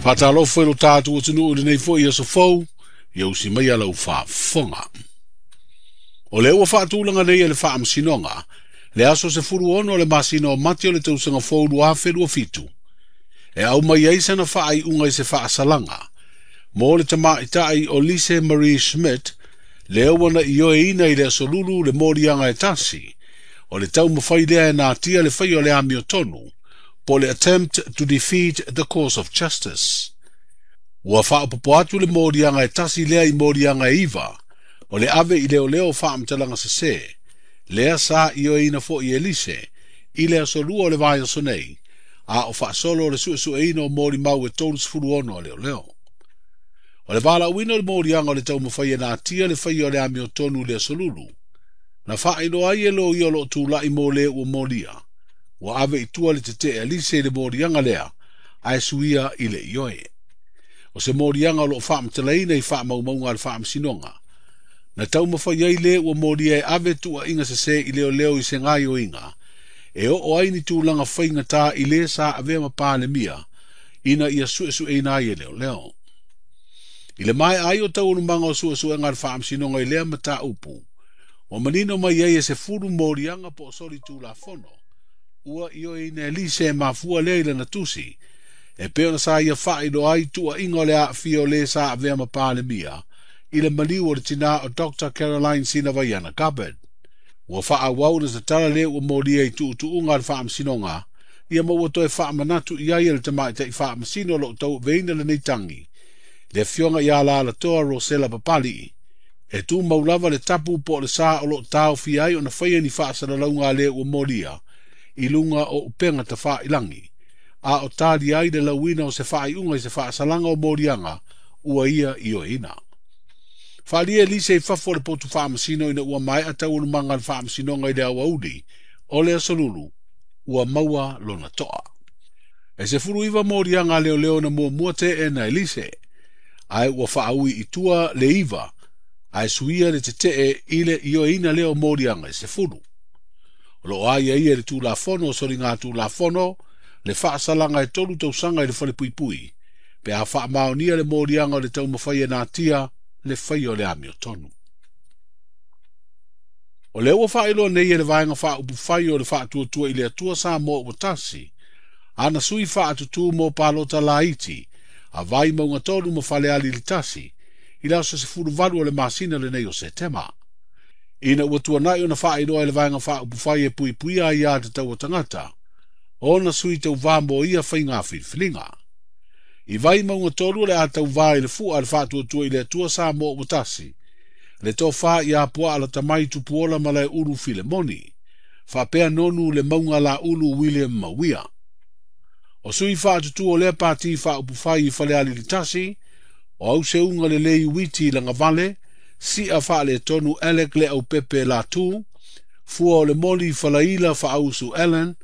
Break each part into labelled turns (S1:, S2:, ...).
S1: Faatalofa i lo tatou atunuu i lenei foi aso fou, ia usi mai lau faafofoga. O lea ua faatulaga nei e le Faamasinoga, le aso 16 o le masina o Mati o le tausaga fou 2027, e aumai ai sana faaiuga i se faasalaga mo le tamaitai o Lise Marie Schmidt, lea ua na ioeina i le aso Lulu le moliaga e tasi, o le taumafai lea e natia le faia o le amiotonu, po le attempt to defeat the course of justice. Ua faaopoopo atu le moliaga e tasi lea i moliaga e 9, o le ave i leoleo faamatalaga sesē, lea sa ioeina foi e Lise i le aso 2 o le vaiaso nei, a o faasolo le suesueina o molimau e 36 a leoleo. O le valaauina o le moliaga o le taumafai e natia le faia o le amiotonu i le aso Lulu, na faailoa ai e loia o loo tulai mo le ua molia, ua ave i tua le tetee a Lise i le moliaga lea, ae suia i le ioe. O se moliaga o loo faamatalaina i faamaumauga a le Faamasinoga, na taumafai ai le ua molia e ave tuuaiga sesē i leoleo i se gaioiga, e oo ai ni tulaga faigata i le sa avea ma Palemia, ina ia suesueina ai e leoleo. I le maea ai o taualumaga o suesuega a le Faamasinoga i lea mataupu, ua manino mai ai e 10 moliaga po o soli tulafono, ua ioeina e Lise e mafua lea i lana tusi, e pei ona sa ia faailoa ai tuuaiga o le aafia o le sa avea ma Palemia, i le maliu o le tina o Dr. Caroline Sinavaiana Gabbard. Ua faaauau na tatala le ua molia i tuutuuga a le Faamasinoga, ia ma ua toe faamanatu i ai e le tamaitai faamasino o loo tauaveina lenei tagi, le afioga ia Lalatoa Rosela Papalii, e tumau lava le tapu po o le sa o loo taofia ai ona faia ni faasalalauga a le ua molia, i luga o upega tafailagi, a o talia ai le lauina o se faaiuga i se faasalaga o moliaga ua ia ioeina. Faalia Lise i fafo o le potu faamasino ina ua maea taualumaga a le Faamasinoga i le aoauli, o le aso Lulu, ua maua lona toa. E 19 moliaga a leoleo na muamua teena e Lise, ae ua faaui i tua le 9, ae suia le tetee i le ioeina lea o moliaga e 10. O loo aiaia i le Tulafono o soliga Tulafono, le faasalaga e 3 tausaga i le falepuipui, pe a faamaonia le moliaga o le taumafai e natia le faia o le amiotonu. O lea ua faailoa nei e le vaega faaupufai o le faatuatua i le Atua Samoa ua tasi, ana sui faatutū mo palota laiti, a Vaimauga 3 ma Falealili 1, i le aso 18 o le masina lenei o Setema. Ina ua tuanai ona faailoa e le vaega faaupufai e puipuia ai a tatau o tagata, ona sui tauvā mo ia faiga filifiliga. I Vaimauga 3 o le a tauvā i le fua a le faatuatua i le Atua Samoa ua tasi, le tofa ia Puaa Latamai Tupuola Malaeulu Filemoni, faapea nonu le mauga laulu William Mauia. O sui faatutū o lea pati faaupufai i Falealili 1, o Auseuga Lelei Witi Lagavale, Sia Faaletonu Alec Le Aupepe Latu, Fua o le Moli Falaila Faausu Allen,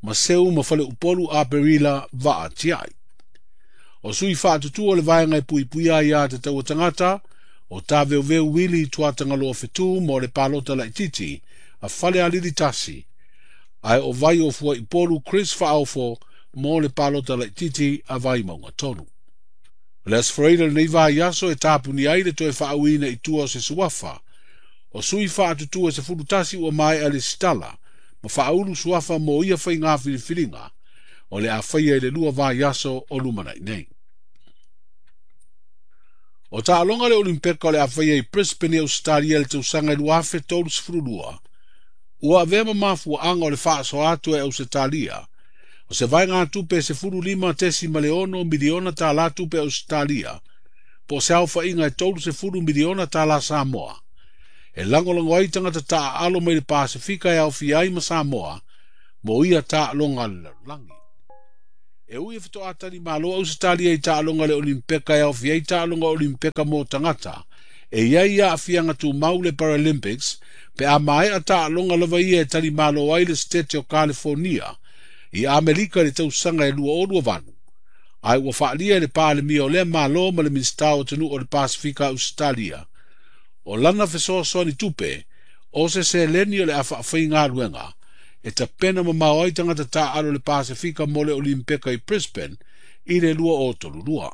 S1: ma Seu ma Faleupolu Aperila Vaa Tiai. O sui faatutū o le vaega e puipuia ai a tatau o tagata, o Taveuveu Wili Tuatagaloa Fetu mo le palota laititi a Falealili 1, ae o vai o Fuaipolu Chris Faaofo mo le palota laititi a Vaimauga 3. O le aso Faraile lenei vaiaso e tapuni ai le toe faauiina i tua o se suafa, o sui faatutū e 11 ua maea le sitala, ma faaulu suafa mo ia faiga filifiliga, o le a faia i le 2 vaiaso o lumanai nei. O taaloga le Olimpeka o le a faia i Brisbane i Australia le tausaga 2032, ua avea ma mafuaaga o le faasoa atu e Ausetalia, o se vaegatupe e $15.6 miliona tala tupe Ausetalia, po o se aofaiga e $30 miliona tala Samoa, e lagolago ai tagata taaalo mai le Pasefika e aofia ai ma Samoa, mo ia taaloga a le lalolagi. E ui e fetoatali malo Ausetalia i taaloga le Olimpeka e aofia ai taaloga Olimpeka mo tagata, e iai aafiaga tumau le Paralympics, pe a maea taaloga lava ia e tali malo ai le State o California, i Amerika i le tausaga e 2028, ae ua faalia e le Palemia o lea malo ma le Minisita o Atunuu o le Pasefika Ausetalia, o lana fesoasoani tupe, o se seleni o le a faafaigaluega, e tapena mamao ai tagata taaalo le Pasefika mo le Olimpeka i Brisbane, i le 2032.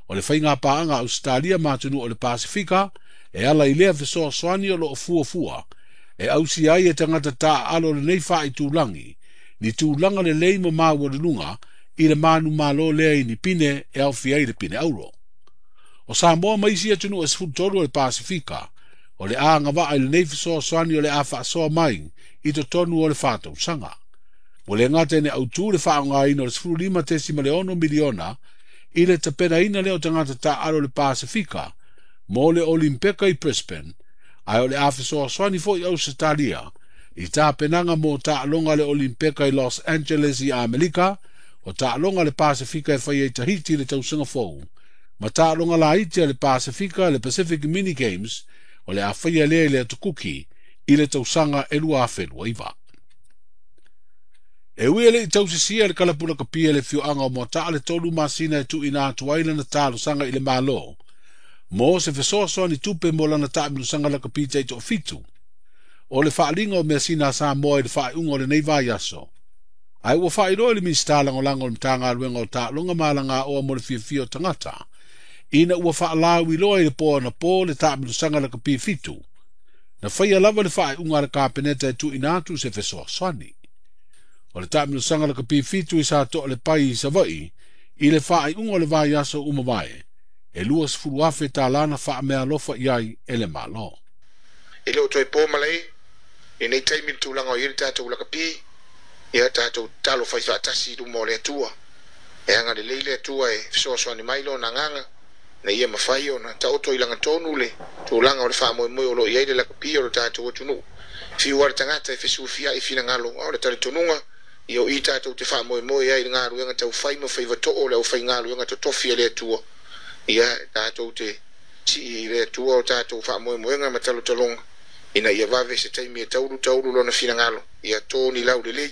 S1: O le faiga paaga a Ausetalia ma atunuu o le Pasefika e ala i lea fesoasoani o loo fuafua e ausia ai e tagata taaalo lenei faaitulagi ni tulaga lelei ma maualuluga i le manumalo lea i ni pine e aofia ai le pine auro. O Samoa ma isi atunuu e 13 o le Pasefika o le agavaa i lenei fesoasoani o le a faasoa mai i totonu o le 4 tausaga. Ua le gata ina autū le faaaogaina o le 15.6 miliona i le tapenaina lea o tagata taaalo o le Pasefika mo le Olimpeka i Brisbane, ae o le a fesoasoani foi Ausetalia i tapenaga mo taaloga le Olimpeka i Los Angeles i Amerika, o taaloga le Pasefika e faia i Tahiti i le tausaga fou, ma taaloga laiti a le Pasefika, le Pacific Mini Games, o le a faia lea i le Atu Kuki i le tausaga e 2029. E ui e lei tausisia le kalapu lakapia le afioaga o Moataa le 3 masina e tuuina atu ai lana talosaga i le Malo mo se fesoasoani tupe mo lana taamilosaga lakapi taitoafitu o le faaliga o measina a Samoa i le faaiuga o lenei vaiaso. Ae ua faailoa i le Minisita Lagolago o le Matagaluega o Taaloga ma Alagaoa mo le Fiafia o Tagata, ina ua faalauiloa i le po anapo le taamilosaga lakapi fitu, na faia lava le faaiuga a le Kapeneta e tuuina atu se fesoasoani. O le taamilosaga lakapi fitu i sa Toalepai i Savaii i le faaiuga o le vaiaso ua mavae, e 20,000 tālā na faameaalofa i ai e le Malo.
S2: E le o toe po malae lenei taimi le tulaga o i ai le tatou lakapi. Ia tatou tatalo fai faatasi i luma o le Atua e agalelei le Atua e fesoasoani mai lona agaga ina ia mafai ona taoto i lagatonu le tulaga o le faamoemoe o loo i ai le lakapi o le tatou atunuu. Fiu a le tagata e fesufiai finagalo, a o le talitonuga ia o i tatou te faamoemoe ai i le galuega taufai ma faiva too le aufaigaluega totofi a le Atua. Ia tatou te sii i le Atua o tatou faamoemoega ma talotaloga ina ia vave se taimi e taulu taulu lona finagalo ia toni laulelei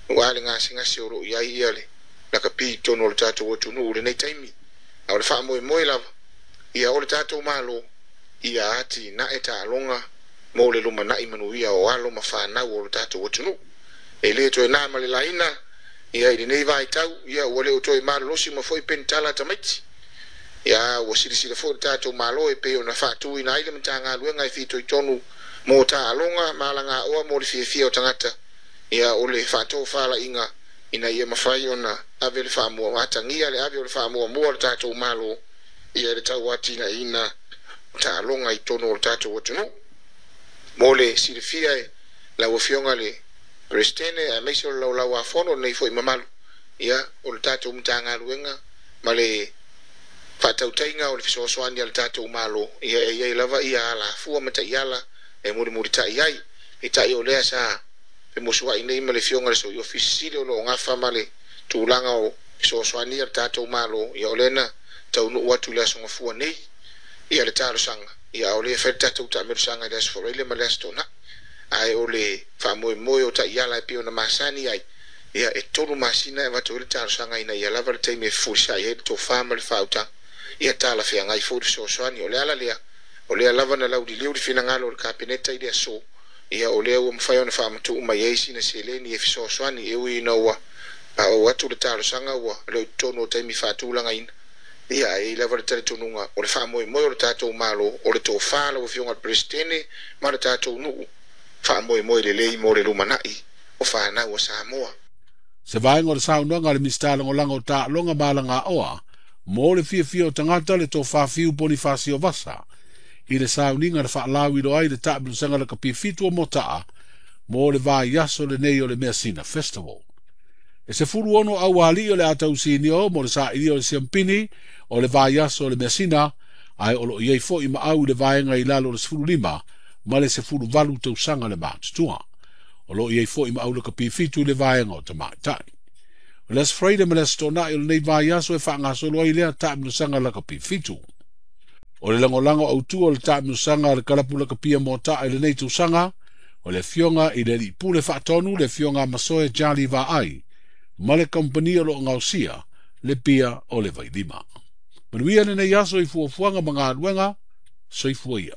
S2: ua le gasegase o loo i ai ia le lakapi i totonu o le tatou atunuu lenei taimi. A o le faamoemoe lava ia o le tatou Malo ia atinae taaloga mo le lumanai manuia o alo ma fanau o le tatou atunuu. E le toe na ma le laina ia i lenei vaitau ia ua le o toe malolosi ma foi penitala tamaiti. Ia ua silasila foi le tatou Malo e pei ona faatuina ai le Matagaluega e fitoitonu mo taaloga ma alagaoa mo le fiafia o tagata. Ia o le faatofalaiga ina ia mafai ona ave le faamua atagia le ave o le faamuamua o le tatou Malo ia le tauatinaeina taaloga i totonu o le tatou atunuu. Mo le silafia e lau Afioga le Peresetene aemaise o le laulau a fono lenei foi mamalu, ia o le tatou Matagaluega ma le faatautaiga o le fesoasoani a le tatou Malo ia e iai lava ia alafua ma taiala e mulimuli ai peitai o lea sa femusuai nei ma le Afioga le Sui Ofisa Sili o loo gafa ma le tulaga o fesoasoani a le tatou Malo. Ia o lea na taunuu atu i le aso Gafua nei ia le talosaga. Ia o lea fai le tatou taamelosaga i le aso Faraile ma le aso Toonai, ae o le faamoemoe o taiala e pei ona masani ai ia e 3 masina e avatu ai le talosaga ina ia lava le taimi e fefulisai ai le tofa ma le faautaga ia talafeagai foi le fesoasoani. O le ala lea o lea lava na lauliliu le finagalo o le Kapeneta i le aso. Ia o lea ua mafai ona faamatuu mai ai sina seleni e fesoasoani e ui ina ua paoo atu le talosaga ua le o totonu o taimi faatulagaina. Ia ae i lava le talitonuga o le faamoemoe o le tatou Malo o le tofa lau Afioga le Peresetene ma le tatou nuu faamoemoe lelei mo le lumanai o fanau a Samoa.
S1: Se vaega o le saunoaga a le Minisita Lagolago o Taaloga ma Alagaoa mo le Fiafia o Tagata, le Tofa Fiu Ponifasio Vasa, i le sauniga na faalauiloa ai le taamilosaga lakapi fitu o Moataa mo le vaiaso lenei o le Measina Festival. E 16 aualii o le a tausinio mo le sailia o le siampini o le vaiaso o le measina, ae o loo i ai foi ma au i le vaega i lalo o le 15 ma le 18 tausaga le matutua. O loo i ai foi ma au lakapi fitu i le vaega o tamaitai. O le Aso Faraile ma le Aso Toonai o lenei vaiaso e faagasolo ai lea taamilosaga lakapi fitu. O le lagolago autū o le taamilosaga a le kalapu lakapia Moataa i lenei tausaga, o le Afioga i le Alii Pule Faatonu, le Afioga Masoe Jali Vaai, ma le kamupani o loo gaosia le pia o le Vailima. Manuia lenei aso i fuafuaga ma galuega. Soifua ia.